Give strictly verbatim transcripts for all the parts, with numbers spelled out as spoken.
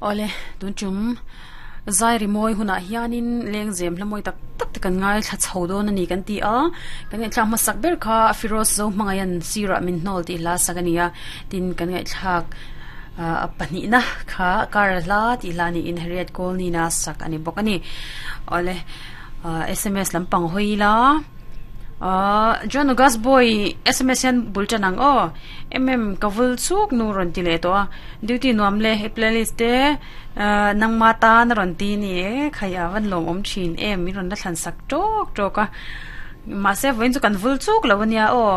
Ole tun tum zai rimawi hunah hianin lengzem hla mawi tak tak te kan ngai thla chho dawn a ni kan ti a kan ngaihthlak hmasak ber kha Firoz zo hmangaian sirah min hnawl tih hla sak a ni a tin kan ngaihthlak a pahnih na kha kar hla tih hla niin Harriet Colnina sak a ni bawk a ni ole S M S lampang hawi la John August boy S M S hian bul tan ang aw M M ka vul chuk nu rawn ti leh tawh a duty nuam le he playlist te nangma tan a rawn ti ni e khai a van lawm awm thin em min rawn la thlan sak tawk tawk a mahse vawiin chu kan vul chuk lo ania aw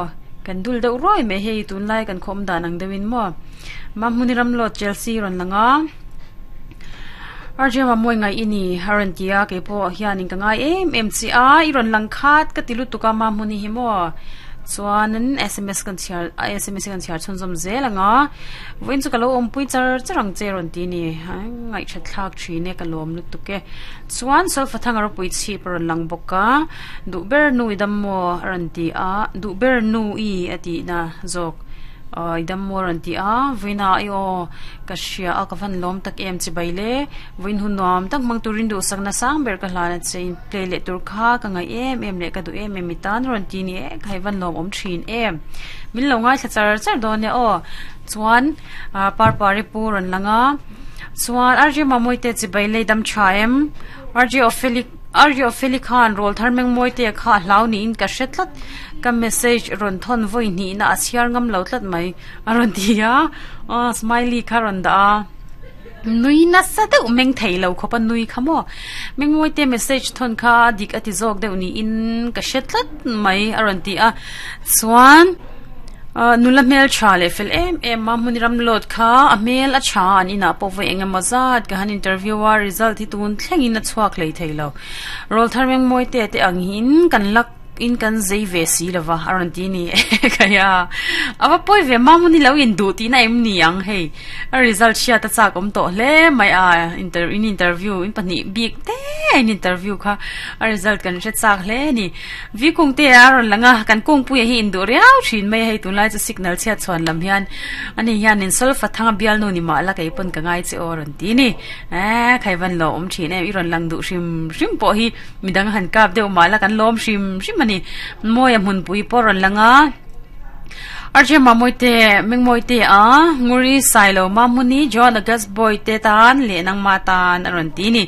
kan dul deuh ruai mai hei tunlai kan khawm dan ang deuhin maw Mahmuni Ramlawt Chelsea rawn lang a R J Mamuai ngai i ni a rawn ti a keipawh hianin ka ngai em em chi a i rawn lang khat ka ti lutuk a Mahmuni hi maw chuanin S M S kan chhiar S M S kan chhiar chhunzawm zel ang a vawiin chu ka lo awmpui char char ang che rawn ti ni ngaih that thlak thin e ka lawm lutuk e chuan solfa thang a ropui chhip a rawn lang bawk a duh ber nu i dam maw a rawn ti a duh ber nu i a tih na zawk i dam maw a rawn ti a vawiina i aw ka hria a ka van lawm tak em chi bai le vawiin hun nuam tak hmang turin duhsakna sang ber ka hlan a che in play leh tur kha ka ngaih em em leh ka duh em em i tan rawn ti ni e ka hei van lawm awm thin em min lo ngaithla char char dawn e aw chuan parpari pu rawn lang a chuan R J Mamui te chi bai le dam tha em R J Ophelic R J Opheli khan rawl thar meng mawi te kha hlau niin ka hre tlat ka message rawn thawn vawi hnih na a chhiar ngam lo tlat mai a rawn ti a aw smiley kha rawn dah a nui nasa deuh meng thei lo khawp a nui kha maw meng mawi te message thawn kha dik a ti zawk deuh niin ka hre tlat mai a rawn ti a chuan nula hmel tha leh fel em em a hmun Ramlawt kha a hmel a tha an inah pawh vawi eng emaw zat ka han interview a result hi tun thlengin a chhuak hlei thei lo rawl thar meng mawi te te ang hin kan lak in kan zei ve si lova a rawn ti ni khaia awa pawi ve ma hmun hi lo in duh tih na em ni ang hei a result hriat a chak awm tawh hle mai a inter in interview in pahnih bik te in interview kha a result kan hre chak hle ni vi kung te a rawn lang a kan kungpui hi in duh riau thin mai hei tunlai chu signal chhiat chhuan lam hian ani hian in solfa thanga bial nu ni ma la kei pawn ka ngai che aw rawn ti ni eh khai van lo awm thin em i rawn lang duh hrim hrim pawh hi midang han kap deuh ma la kan lawm hrim hrim ani mawi a hmunpui pawh rawn lang a R J Mamui te Mengmawi te a Nguri Sailo Mahmuni John August boy te tan leh nangma tan a rawn ti ni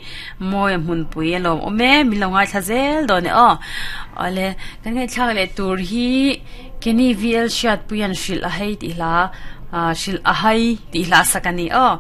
mawi a hmunpui a lawm awm e min lo ngaithla zel dawn e aw awle kan ngaihthlak leh tur hi Kenny V L hriat puian hrilh a hei tih hla hrilh a hai tih hla sak a ni aw.